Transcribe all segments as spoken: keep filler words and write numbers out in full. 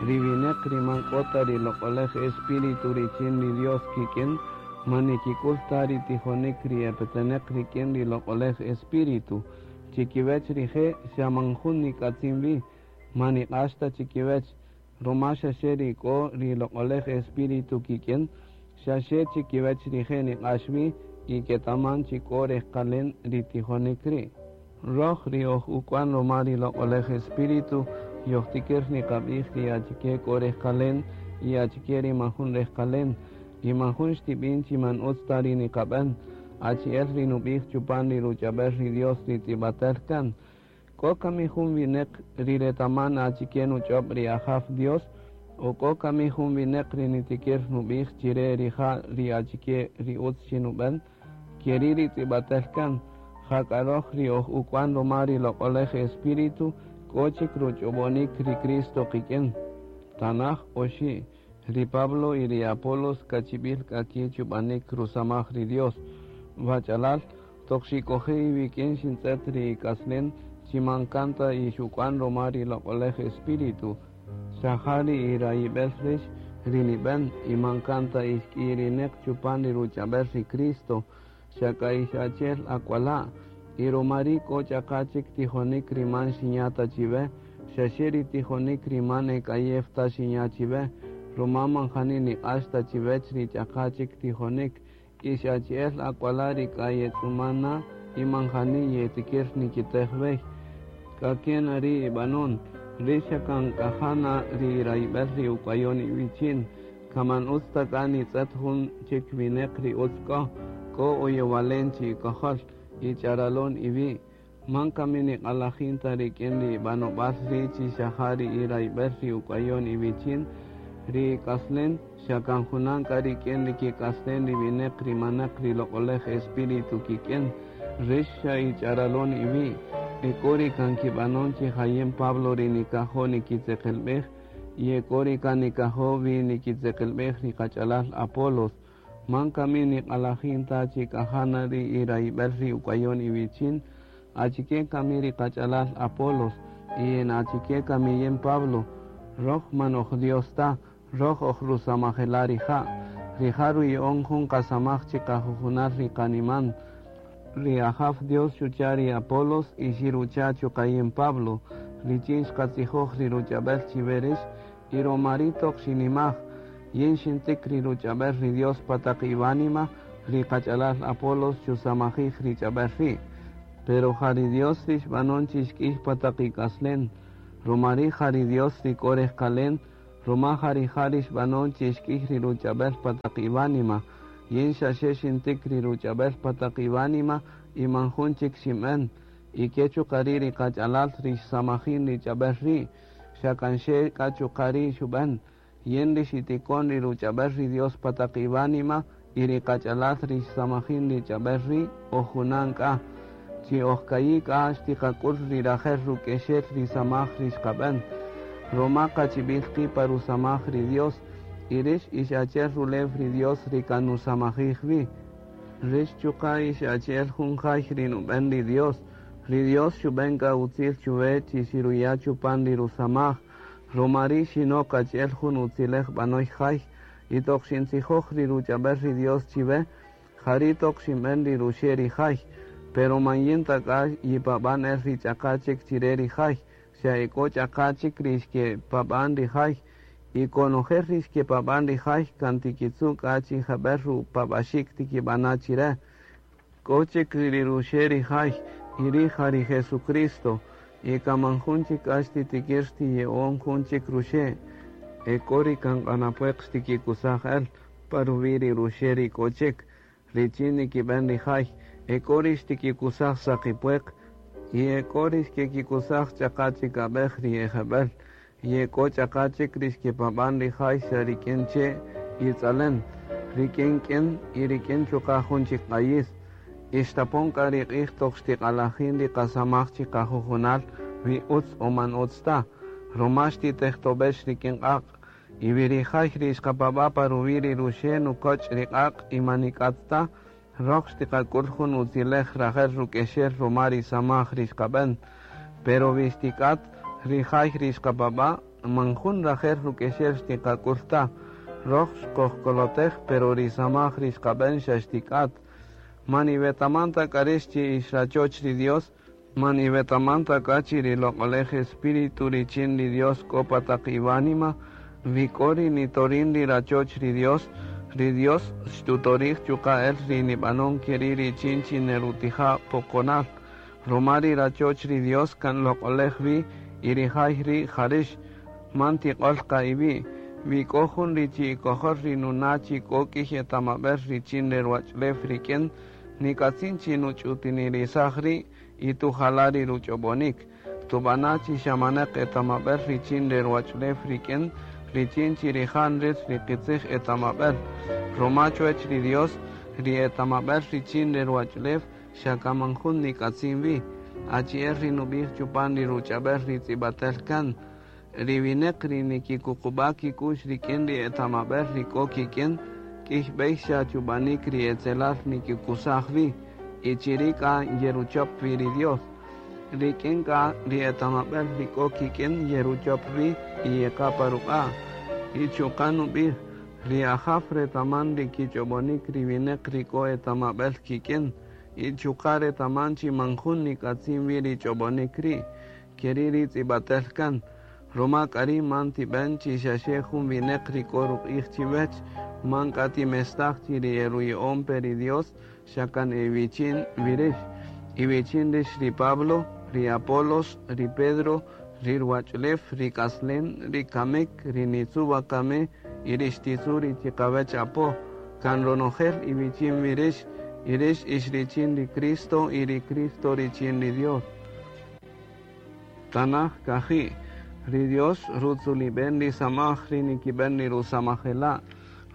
Ri wineq ri man k'o ta ri Loq'oläj Espíritu richin ri Dios kik'in, man nikik'ül ta ri tijonik ri e peteneq rik'in ri Loq'oläj Espíritu. Chikiwech rije' xa man jun nik'atzin wi, man niq'ax ta chikiwech, ruma xa xe ri k'o ri Loq'oläj Espíritu kik'in, xa xe chikiwech rije' niq'ax wi y ketaman chi k'o rejqalen ri tijonik ri'. Röj ri oj uk'wan ruma ri Loq'oläj Espíritu, yojtikir niqab'ij ri achike k'o rejqalen y achike ri majun rejqalen, y majun xtib'in chi man utz ta ri niqab'än, achi'el ri nub'ij chupan ri ruch'ab'äl ri Dios ri tz'ib'atäl kan. K'o kami jun wineq ri retaman achike nuch'ob' ri Ajaw Dios, o k'o kami jun wineq ri nitikir nub'ij chire rija' ri achike ri utz chi nub'än, keri' ri tz'ib'atäl kan. Jak'a röj ri oj uk'wan ruma ri Loq'oläj Espíritu, k'o chik ruch'ob'onik ri Cristo qik'in. Tanaj oxi', ri Pablo y ri Apolos kachib'il k'a ki' chub'anik rusamaj ri Dios. Wach'alal, toq xik'oje' iwik'in xintz'et ri ik'aslen chi man kan ta ix uk'wan ruma ri Loq'oläj Espíritu. Xa ja ri irayib'el rix ri nib'än y man kan ta ix k'iyirineq chupan ri ruch'ab'äl ri Cristo, xa k'a ix achi'el ak'wala', y ruma ri' k'o ch'aqa chik tijonik ri man xinya' ta chiwe, xa xe ri tijonik ri man e k'ayew ta xinya' chiwe, ruma man jani niq'ax ta chiwech ri ch'aqa chik tijonik, ix achi'el ak'wala' ri k'a yetz'uman na y man jani yetikir nikitej wey. K'a ke na ri' ib'anon, rix xa kan k'ajana ri irayib'el ri uk'wayon iwichin, kan man utz ta k'a nitz'et jun chik wineq ri utz k'o, k'o oyowalen chi ikojol y ch'aralon iwi'. Man kami niq'alajin ta rik'in ri ib'anob'al ri' chi xa ja ri irayib'el ri uk'wayon iwichin, ri ik'aslen xa kan junan k'a rik'in ri kik'aslen ri wineq ri manaq ri Loq'oläj Espíritu kik'in, rix xa ich'aralon iwi'. E k'o ri kan kib'anon chi ja yin Pablo ri nikajo' nikitzeqelb'ej, y e k'o ri kan nikajo' wi nikitzeqelb'ej ri qach'alal Apolos. Man kami niq'alajin ta chi k'ajana ri irayib'el ri uk'wayon iwichin, achike kami ri qach'alal Apolos, y en achike kami yin Pablo, röj man oj Dios ta, röj oj rusamajela' rija'. Rija' ruya'on jun qasamaj chi qajujunal ri qaniman. Ri Ajaw Dios xucha' ri Apolos y xirucha' chuqa' yin Pablo, richin xqatzijoj ri ruch'ab'äl chiwe rix, y ruma ri' toq xinimaj, yin xintik ri ruch'ab'äl ri Dios pa taq iwánima, ri qach'alal Apolos xusamajij ri ch'ab'äl ri'. Pero ja ri Dios ri xb'anon chi xk'ij pa taq ik'aslen, ruma ri' ja ri Dios ri k'o rejqalen, ruma ja rija' ri xb'anon chi xk'ij ri ruch'ab'äl pa taq iwánima, yin xa xe xintik ri ruch'ab'äl pa taq iwánima y man jun chik xinb'än, y ke chuqa' ri' ri qach'alal ri xsamajin ri ch'ab'äl ri', xa kan xe k'a chuqa' ri' xub'än. Yin ri xitikon ri ruch'ab'äl ri Dios pa taq iwánima y ri qach'alal ri xsamajin ri ch'ab'äl ri' oj junan k'a. Chi oj ka'i' k'a xtiqak'ül ri rajel ruk'exel ri samaj ri xqab'än. Ruma qachib'il qi' pa rusamaj ri Dios, y rix ix achi'el rulew ri Dios ri kan nusamajij wi. Rix chuqa' ix achi'el jun jay ri nub'än ri Dios. Ri Dios xub'än k'a utzil chuwe chi xiruya' chupan ri rusamaj, ruma ri' xinok achi'el jun utzilej b'anoy jay, y toq xintzijoj ri ruch'ab'äl ri Dios chiwe, ja ri' toq xinb'än ri ruxe' ri jay, pero man yin ta k'a yipab'an el ri ch'aqa chik chire ri jay, xa e k'o ch'aqa chik ri xkepab'an ri jay, y konojel ri xkepab'an ri jay kan tikitzu' k'a chi jeb'ël rupab'axik tikib'ana' chire. K'o chik ri ruxe' ri jay, y ri' ja ri Jesucristo, y kan man jun chik k'a xtitikir xtiye'on jun chik ruxe', e k'o ri kan q'anapueq xtikikusaj el pa ruwi' ri ruxe' ri k'o chik, richin nikib'än ri jay, e k'o ri xtikikusaj saqipueq, y e k'o ri xkekikusaj ch'aqa chik ab'ej ri e jeb'ël, y e k'o ch'aqa chik ri xkepab'an ri jay xa rik'in che' y tz'alen, rik'in k'in y rik'in chuqa' jun chik q'ayis. Ixtapon k'a ri q'ij toq xtiq'alajin ri qasamaj chi qajujunal wi utz o man utz ta, ruma xtitejtob'ex rik'in q'aq', y wi ri jay ri xqapab'a' pa ruwi' ri ruxe' nukoch' ri q'aq' y man nik'at ta, röj xtiqak'ül jun utzilej rajel ruk'exel ruma ri samaj ri xqab'än. Pero wi xtik'at, Ri jay ri xqapab'a' man jun rajel ruk'exel xtiqak'ul ta. Roj xqojkolotej, pero ri samaj ri xqab'en xa xtik'at. Man iwetaman ta k'a rix chi ix rachoch ri Dios, man iwetaman ta k'a chi ri Loq'olej Espíritu richin ri Dios k'o pa taq iwánima, wi k'o ri nitorin ri rachoch ri Dios, ri Dios xtutorij chuqa' el ri nib'anon keri' richin chi nerutija' poqonal. Ruma ri rachoch ri Dios kan loq'olej wi y ri jay ri' jarix, man tiq'ol qa iwi'. Wi k'o jun ri chi ikojol ri nuna' chi k'o k'iy etamab'el richin re ruwach'ulew rik'in, nik'atzin chi nuch'utinirisaj ri' y tujala' ri ruch'ob'onik. Tub'ana' chi xamaneq etamab'el richin re ruwach'ulew rik'in, richin chi rija' nril ri qitzij etamab'el. Ruma chuwech ri Dios, ri etamab'el richin re ruwach'ulew xa kaman jun nik'atzin wi. Achi'el ri nub'ij chupan ri ruch'ab'el ri tz'ib'atel kan. Ri wineq ri nikikuqub'a' kik'u'x rik'in ri etamab'el ri k'o kik'in, k'iy b'ey xa chub'anik ri etzelal nikikusaj wi, y chiri' k'a yeruchop wi ri Dios. Rik'in k'a ri etamab'el ri k'o kik'in yeruchop wi y yeqa pa ruq'a'. Y chuqa' nub'ij, ri Ajaw retaman ri kich'ob'onik ri wineq ri k'o etamab'el kik'in, y chuqa' retaman chi man jun nik'atzin wi ri ch'ob'onik ri', keri' ri tz'ib'atel kan. Ruma k'a ri' man tib'en chi xaxe jun wineq ri k'o ruq'ij chiwech, man k'a timestaj chi ri eruya'on pe ri Dios, xa kan iwichin wi rix. Iwichin rix ri Pablo, ri Apolos, ri Pedro, ri ruwach'ulew, ri k'aslen, ri kamik, ri nitzu wakami y ri xtitzu ri chiqawech apo. Kan ronojel iwichin wi rix, y rix ix richin ri Cristo y ri Cristo richin ri Dios. Tanaj kaji'. Ri Dios rutzulib'en ri samaj ri nikib'en ri rusamajela'.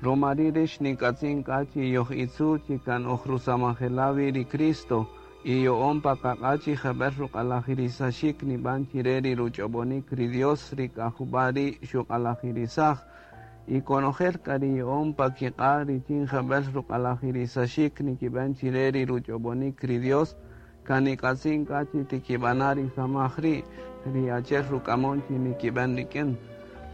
Ruma ri' rix nik'atzin k'a chi yoj itzu chi kan oj rusamajela' wi ri Cristo y yo'on pa qaq'a' chi jeb'el ruq'alajirisaxik nib'an chire ri ruch'ob'onik ri Dios ri k'ajub'a' ri' xuq'alajirisaj. Y konojel k'a ri yo'on pa kiq'a' richin jeb'el ruq'alajirisaxik nikib'en chire ri ruch'ob'onik ri Dios, kan nik'atzin k'a chi tikib'ana' ri samaj ri', ri achi'el ruk'amon chi nikib'en rik'in.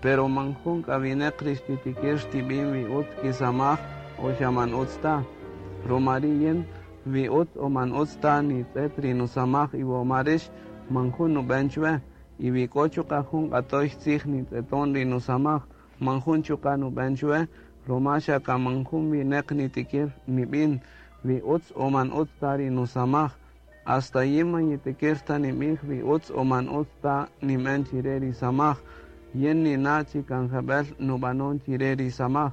Pero man jun k'a wineq ri xtitikir xtib'in wi utz kisamaj o xa man utz ta. Ruma ri' yin, wi utz o man utz ta nitz'et ri nusamaj iwoma rix, man jun nub'en chwe. Y wi k'o chuqa' jun q'atoy tzij nitz'eton ri nusamaj, man jun chuqa' nub'en chwe, ruma xa kan man jun wineq nitikir nib'in wi utz o man utz ta ri nusamaj. Hasta yin man yitikir ta nib'ij wi utz o man utz ta nim'en chire ri samaj. Yin nina' chi kan jeb'el nub'anon chire ri samaj,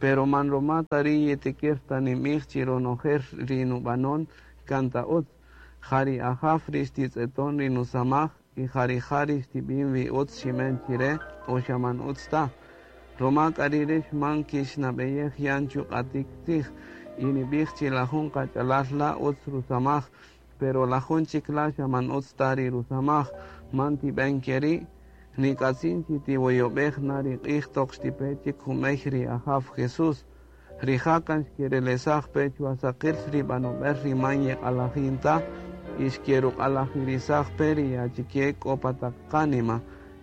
pero man ruma ta ri' yitikir ta nib'ij chi ronojel ri nub'anon kan ta utz. Ja ri Ajaw ri xtitz'eton ri nusamaj y ja rija' ri xtib'in wi utz xim'en chire o xa man utz ta. Ruma k'a ri' rix man kixnab'eyej yan chuq'atik tzij y nib'ij chi la jun qach'alal la' utz rusamaj, pero la jun chik la' xa man utz ta ri rusamaj, man tib'en keri'. Nik'atzin chi tiwoyob'ej na ri q'ij toq xtipe chik jumey ri Ajaw Jesús. Rija' kan xkerelesaj pe chuwasaqil ri b'anob'el ri man yeq'alajin ta y xkeruq'alajirisaj pe ri achike k'o pa taq qánima.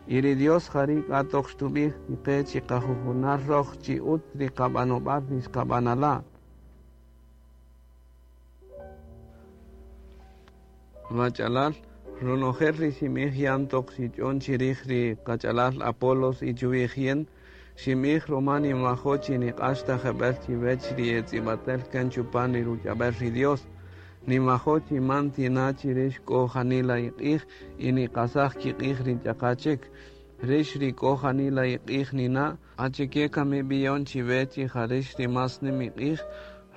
Y ri Dios jari' k'a toq xtub'ij chiqe chi qajujunal roj chi utz ri qab'anob'al ri xqab'anala'. Wach'alal, ronojel ri ximij yan toq xich'on chirij ri qach'alal Apolos y chuwij yin, ximij ruma ninwajo' chi niq'ax ta jeb'el chiwech ri etz'ib'atel kan chupan ri ruch'ab'el ri Dios. Ninwajo' chi man tina' chi rix k'o janila iq'ij y niqasaj kiq'ij ri ch'aqa chik. Rix ri k'o janila iq'ij nina', achike kami b'iyon chiwe chi ja rix ri mas nim iq'ij,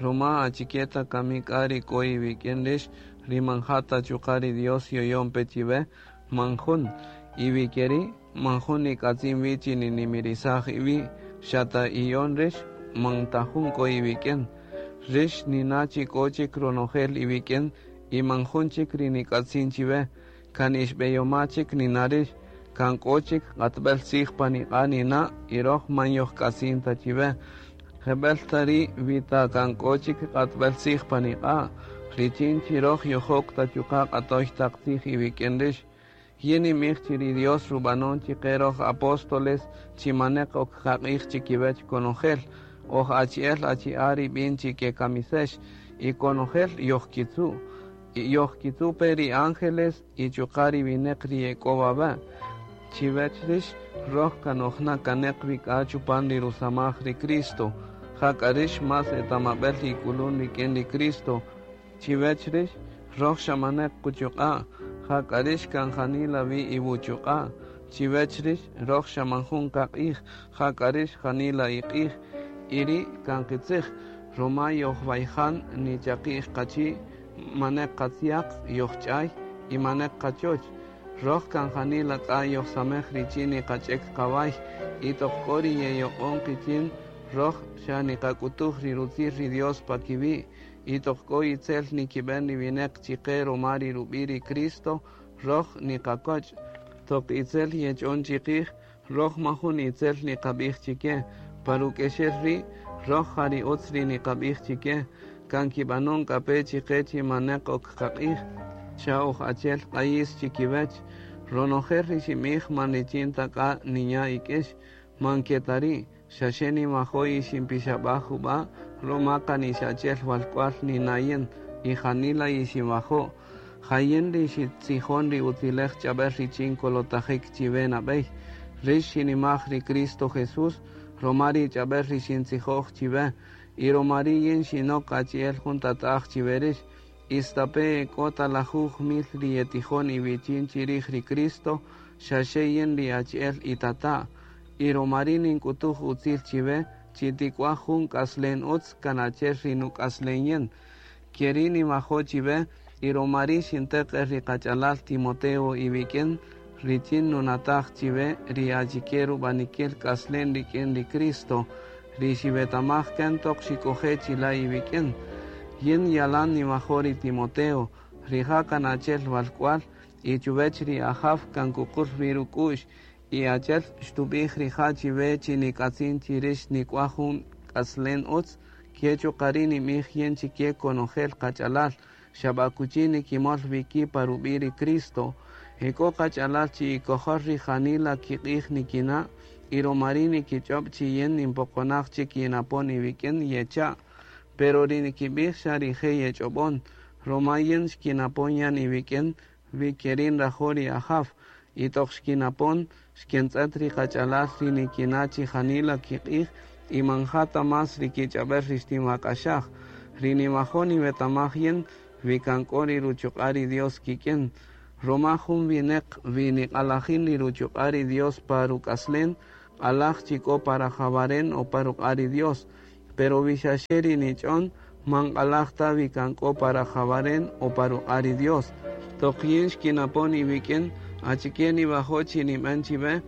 ruma achike ta kami k'a ri k'o iwik'in rix, ri man ja ta chuqa' ri Dios yoyon pe chiwe, man jun. Y wi keri', man jun nik'atzin wi chi ninimirisaj iwi', xa ta iyon rix, man ta jun k'o iwik'in. Rix nina' chi k'o chik ronojel iwik'in y man jun chik ri nik'atzin chiwe, kan ixb'eyoma chik nina' rix, kan k'o chik q'atb'el tzij pan iq'a' nina' y roj man yojk'atzin ta chiwe. Jeb'el ta ri' wi ta kan k'o chik q'atb'el tzij pan iq'a', richin chi roj yojok ta chuqa' q'atoy taq tzij iwik'in rix. Yin ninb'ij chi ri Dios rub'anon chiqe roj apóstoles chi maneq ok qaq'ij chikiwech konojel, oj achi'el achi'a' ri b'in chi kekamisex, y konojel yojkitzu'. Y yojkitzu' pe ri ángeles y chuqa' ri wineq ri ek'o wawe'. Chiwech rix, roj kan ojna kaneq wik'a chupan ri rusamaj ri Cristo. Jak'a rix mas etamab'el ik'ulun rik'in ri Cristo. Chiwech rix, roj xamaneq quchuq'a'. Jak'a rix kan janila wi iwuchuq'a'. Chiwech rix, roj xaman jun qaq'ij. Jak'a rix janila iq'ij. Y ri' kan qitzij, ruma yojwayjan nichaqi'j qachi', maneq qatziaq yojch'ay y maneq qachoch. Roj kan janila k'a yojsamej richin niqach'ek qaway y toq k'o ri yeyoq'on qichin, roj xa niqak'utuj ri rutzil ri Dios pa kiwi', y toq k'o itzel nikib'en ri wineq chiqe ruma ri rub'i' ri Cristo, roj niqakoch'. Toq itzel yech'on chiqij, roj majun itzel niqab'ij chike. Pa ruk'exel ri', roj ja ri utz ri niqab'ij chike, kan kib'anon k'a pe chiqe chi maneq ok qaq'ij, xa oj achi'el q'ayis chikiwech. Ronojel ri xinb'ij man richin ta k'a ninya' ik'ix, man ke ta ri', xaxe niwajo' yixinpixab'aj jub'a', ruma kan ix achi'el walk'wal nina' yin, y janila yixinwajo'. Ja yin ri xitzijon ri utzilej ch'ab'äl richin kolotajik chiwe nab'ey. Rix xinimaj ri Cristo Jesús, ruma ri ch'ab'äl ri xintzijoj chiwe, y ruma ri' yin xinok achi'el jun tata'aj chiwe rix. Istape k'o ta lajuj mil ri yetijon iwichin chirij ri Cristo, xaxe yin ri achi'el itata'. Y ruma ri' nink'utuj utzil chiwe, chi tik'uaj jun k'aslen utz kan achi'el ri nuk'aslen yin. Ke ri' niwajo' chiwe, y ruma ri' xinteq el ri qach'alal Timoteo iwik'in, richin nunataj chiwe ri achike rub'anikil k'aslen rik'in ri Cristo, ri xiwetamaj kan toq xik'oje' chila' iwik'in. Yin yalan niwajo' ri Timoteo, rija' kan achi'el walk'wal, y chuwech ri Ajaw kan kuqul wi ruk'u'x, y achi'el xtub'ij rija' chiwe chi nik'atzin chi rix nik'uaj jun k'aslen utz, ke chuqa' ri' ninb'ij yin chike konojel qach'alal, xa b'akuchi nikimol wi ki' pa rub'i' ri Cristo. Ek'o qach'alal chi ikojol ri janila kiq'ij nikina', y ruma ri' nikich'ob' chi yin ninpoqonaj chik yinapon iwik'in yecha'. Pero ri nikib'ij xa rije' yech'ob'on, ruma yin xkinapon yan iwik'in wi ke ri' nrajo' ri Ajaw, y toq xkinapon xkentz'et ri qach'alal ri nikina' chi janila kiq'ij y man ja ta mas ri kich'ab'äl ri xtinwak'axaj. Ri niwajo' niwetamaj yin wi kan k'o ri ruchuq'a' ri Dios kik'in. Ruma jun wineq wi niq'alajin ri ruchuq'a' ri Dios pa ruk'aslen, q'alaj chi k'o pa rajawaren o pa ruq'a' ri Dios. Pero wi xaxe ri nich'on, man q'alaj ta wi kan k'o pa rajawaren o pa ruq'a' ri Dios. Toq yin xkinapon iwik'in, achike niwajo' chi nib'en chiwe,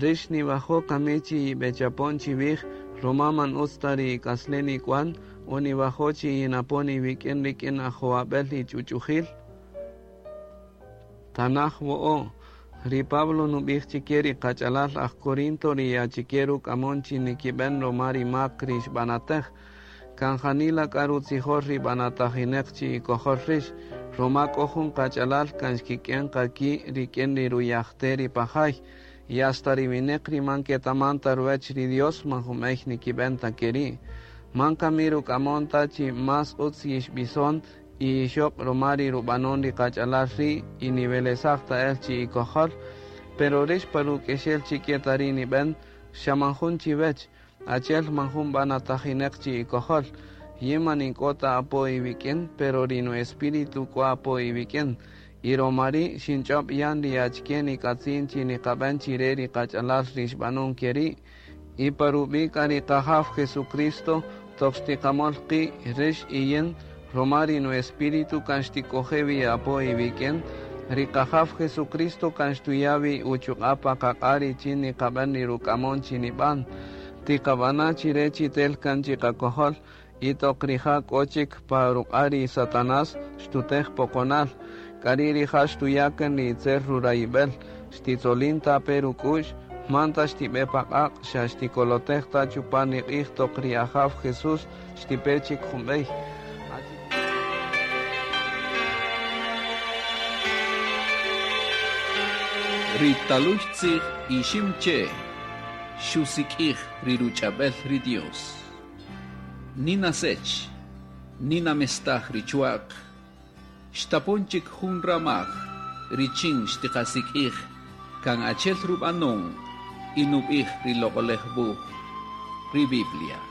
rix niwajo' kami chi yib'echapon chiwij, ruma man utz ta ri ik'aslen ik'wan, o niwajo' chi yinapon iwik'in rik'in ajowab'el ich'uch'ujil. Tanaj wo'o', ri Pablo nub'ij chike ri qach'alal aj Corinto ri achike ruk'amon chi nikib'en ruma ri mak ri xb'anatej. Kan janila k'a rutzijol ri b'anatajineq chi ikojol rix, ruma k'o jun qach'alal kan xkik'en qa ki' rik'in ri ruyajte ri pajay, y hasta ri wineq ri man ketaman ta ruwech ri Dios man junb'ey nikib'en ta ke ri'. Man kami ruk'amon ta chi mas utz yixb'ison y ixoq ruma ri rub'anon ri qach'alal ri' y niwelesaj ta el chi ikojol, pero rix pa ruk'exel chi ke ta ri' nib'en, xa man jun chiwech, achi'el man jun b'anatajineq chi ikojol. Yin man ink'o ta apo iwik'in, pero ri nu espíritu k'o apo iwik'in. Y ruma ri' xinch'ob' yan ri achike nik'atzin chi niqab'en chire ri qach'alal ri xb'anon ke ri'. Y pa rub'i' k'a ri Qajaw Jesucristo, toq xtiqamol qi' rix y yin, ruma ri nu espíritu kan xtik'oje' wi apo iwik'in, ri Qajaw Jesucristo kan xtuya' wi uchuq'a' pa qaq'a' richin niqab'en ri ruk'amon chi nib'an. Tiqab'ana' chire chi tel kan chiqakojol, y toq rija' k'o chik pa ruq'a' ri Satanás xtutej poqonal. K'a ri' rija' xtuya' kan ri itzel rurayib'el, xtitzolin ta pe ruk'u'x, man ta xtib'e pa q'aq', xa xtikolotej ta chupan ri q'ij toq ri Ajaw Jesús xtipe chik junb'ey. Ri talüy tzij Iximche' xusik'ij ri ruch'ab'el ri Dios. Nina Sech, Ninamestaj ri chwa'q, xtapon chik jun ramaj richin xtiqasik'ij kan achi'el rub'anon y nub'ij ri Loq'oläj Wuj, ri Biblia.